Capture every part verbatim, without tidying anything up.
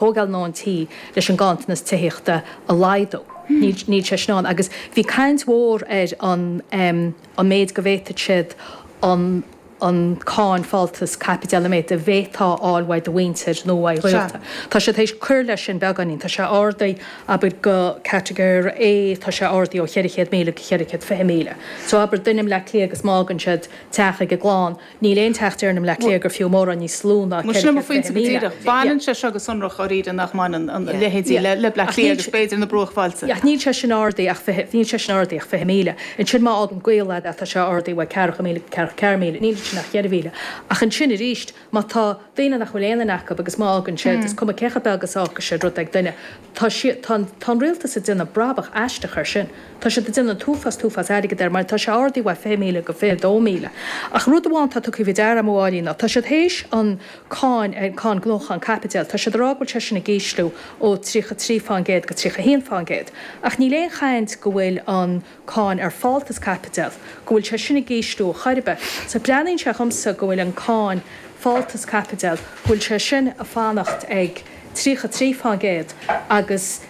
Tógáil nó an tí leis an ganntanas tithíochta a laghdú. Níl sé sin ann agus bhí caint mhór ar an um, an méid go bhféadfadh siad an an cáin fáltas caipitil an méid a bhféadfá a fháil uaidh do mhuintir nó uaidh ghaolta. Tá sé théis cur leis sin beagáinín, tá sé ardaithe abair go catagóir A tá sé ardaithe ó cheithre chéad míle go cheithre chéad fiche míle. So abair duine i mBleá Cliath agus má fhágann siad teach ag a gclann, Níl aon teach déarfainn i mBleá Cliath gur fiú mórán níos lú ná Mar sin mo ceithre chéad phointe fiche go míle. díreach. Baineann sé seo go sonrach dháiríre nach mbaineann a leithéidí le Bleá Cliath agus b'fhéidir na bruachbhailte. Ach níl sé sin ardaithe ach fiche, níl sé sin ardaithe ach fiche míle. Ansin má fhágann gaol leat é tá sé ardaithe uaidh ceathracha míle go ceathracha ceathair míle. Níl ansin ach cheithre mhíle. Ach ansin arís má tá daoine nach bhfuil aon duine acu agus má fhágann siad, is cuma cé chomh beag is a fhágfaidh siad rud ag duine, tá siad, tá an, tá an rialtas ag déanamh brabach aisteach air sin. Tá siad ag déanamh an t-uafás, t-uafás airgid air mar tá sé ardaithe uaidh fiche míle go fiche dó míle. Ach rud amháin atá tugtha faoi deara agam a Mháirín ná tá siad théis an cáin, an cáin gnóchan caipitil, tá siad ag rá go bhfuil sé sin ag ísliú ó tríocha trí fán gcéad go tríocha haon fán gcéad. Ach níl aon chaint go bhfuil an cáin ar fáltas caipitil, go bhfuil sé sin ag ísliú chor ar bith. So breathnaíonn sé dhomsa go bhfuil an cáin fáltas caipitil, go bhfuil sé sin ag fanacht ag tríocha trí fán gcéad agus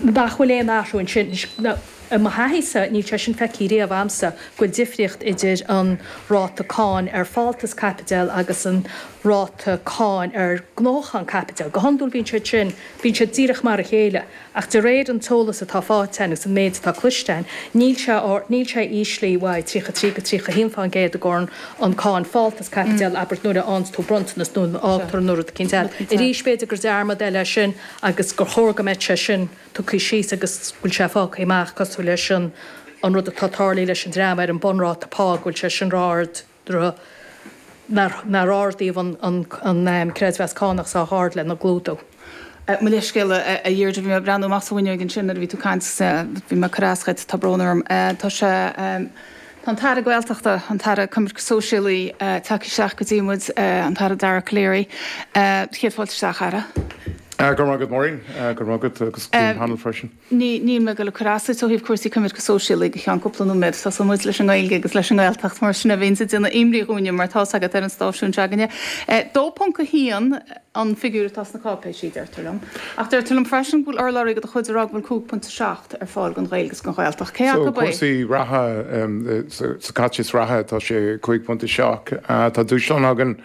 nach bhfuil aon athrú ansin. I mo thaithísa, níl sé sin feicthe riamh a'msa, go bhfuil difríocht idir an ráta cáin ar fáltas caipitil agus an ráta cáin ar gnóchan caipitil. Go hiondúil bíonn siad sin, bíonn siad díreach mar a chéile. Ach de réir an t-eolas atá faighte againn agus an méid atá cloiste againn, níl sé, níl sé íslithe uaidh tríocha trí go tríocha haon fán gcéad i gcomhair an cáin fáltas caipitil, abair nuair a fhaigheanns tú bronntanas nó nuair a fhágtar nó rud eicínt eile. Arís, b'fhéidir gur dearmad eile é sin agus gur chóir go mbeadh sé sin tugtha síos agus go bhfuil sé fágtha amach cosúil leis an an rud atá tarlaithe leis an dream ar an bunráta pá, go bhfuil sé sin ró-ard nár nár ardaíodh an an an creidmheas cánach sách ard lena gclúdú. Mo leithscéal, a Dheirdre, bhí mé ag breathnú amach sa bhfuinneoig ansin nuair a bhí tú ag caint, bhí mé ag cur as dhuit, tá brón orm. Tá sé, tá an tAire Gaeltachta, an tAire Coimirce Sóisialaí tagtha isteach go dtí muid, an tAire Dara Calleary. Céad fáilte isteach, a Aire. Go raibh maith agat, Maureen. Go raibh maith agat agus go dtí an panel freisin. Ní, níl mé ag dul ag cur as duit ó thaobh cúrsaí coimirce sóisialaí go ceann cúpla nóiméad. Tosóidh muid leis an nGaeilge agus leis an nGaeltacht mar sin a bhíonns ag déanamh imní dhúinne mar tá's agat ar an stáisiún s'againne. Dó ponc a haon an figiúr atá sna cáipéisí, deirtear liom. Ach deirtear liom freisin go bhfuil urlabhraí de do chuid ag rá go bhfuil cúig pointe seacht ar fáil don Ghaeilge agus don Ghaeltacht. Cé So acu é? cúrsaí reatha, sa chaiteachas reatha tá sé cúig pointe seacht. Tá dúshlán againn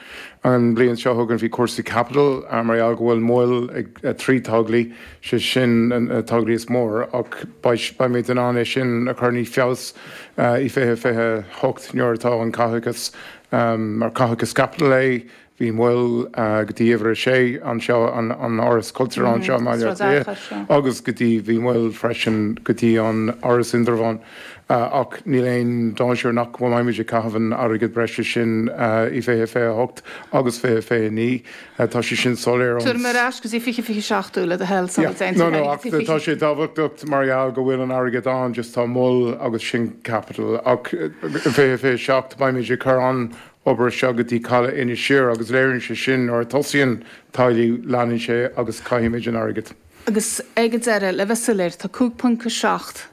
An bhliain seo chugainn bhí cúrsaí caipitil mar gheall go bhfuil moill ag trí tograí, sé sin an tograí is mór ach beimid in ann é sin a chur níos feabhas i fiche fiche hocht nuair atá an caiteachas mar caiteachas caipitil é. Bhí moill go dtí uimhir a sé anseo, an Áras Cultúir anseo i mBaile Átha Cliath agus go dtí bhí moill freisin go dtí an Áras Indreabhán. Ach níl aon dainséar nach mbeimid ag caitheamh an airgead breise sin i fiche fiche hocht agus fiche fiche naoi. Tá sé sin soiléir ón. Tabharfaidh mé ar ais go dtí fiche fiche seacht thú le do thoil sula Yeah. dtéann No, tú no, ar ach tá sé tábhachtach mar gheall go bhfuil an airgead ann, just tá moill agus sin capital. Ach fiche fiche seacht beimid ag cur an obair seo go dtí Caladh Inis Oírr agus léiríonn sé sin nuair a tosaíonn teaghlaigh leanann sé agus caithfimid an airgead. Agus ag an deireadh, le bheith soiléir, tá cúig ponc a seacht.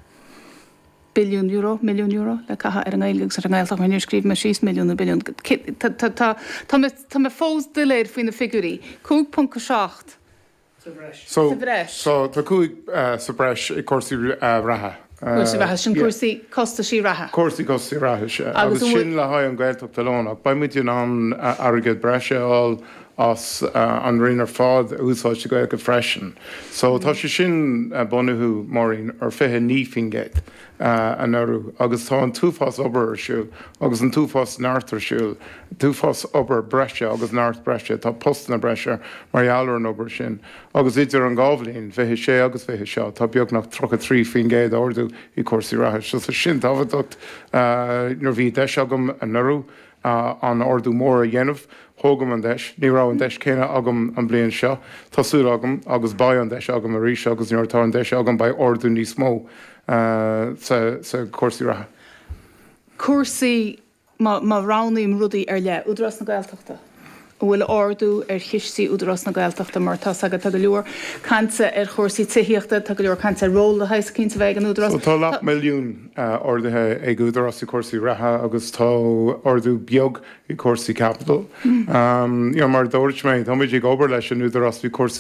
billiún euro, milliún euro, le caitheamh ar an nGaeilge agus ar an nGaeltacht, mar níor scríobh mé síos milliún nó billiún. Tá, tá mé, tá mé fós doiléir faoi na figiúirí. Cúig ponc a seacht Sa sa bhreis. So, tá cúig sa bhreis ag cúrsaí reatha. Cúrsaí reatha, sin cúrsaí costaisí reatha. Cúrsaí costaisí reatha, sea. Agus sin le haghaidh an Ghaeltacht alone. Ach beidh muid in ann airgead breise a fháil as an Roinn ar fad a úsáid sa Ghaeilge freisin. So tá sé sin bunaithe, Maureen, ar fiche naoi faoin gcéad anuraidh agus tá an t-uafás obair ar siúl agus an t-uafás neart ar siúl, t-uafás obair breise agus neart breise, tá postanna breise mar gheall ar an obair sin agus idir an dhá bhliain, fiche sé agus fiche seacht, tá beagnach tríocha trí faoin gcéad ardú i cúrsaí reatha. So tá sin tábhachtach. Nuair bhí deis agam anuraidh, an ardú mór a dhéanamh. Thóg an deis. Ní raibh an deis céanna agam an bliain seo. Tá súil agam agus beidh an deis agam arís agus nuair atá an deis agam beidh ardú níos mó sa cúrsaí reatha. Cúrsaí, má roghnaím rudaí ar leith, Údarás na Gaeltachta, An bhfuil ardú ar chistí Údarás na Gaeltachta mar tá's agat tá go leor cainte ar chúrsaí tithíochta, tá go leor cainte ar ról de shaghas eicínt a bheith ag an Údarás. So tá leath milliún ardaithe ag Údarás i cúrsaí reatha agus tá ardú beag i cúrsaí capital. Um, you know, mar dúirt mé, tá muid ag obair leis an Údarás faoi cúrsaí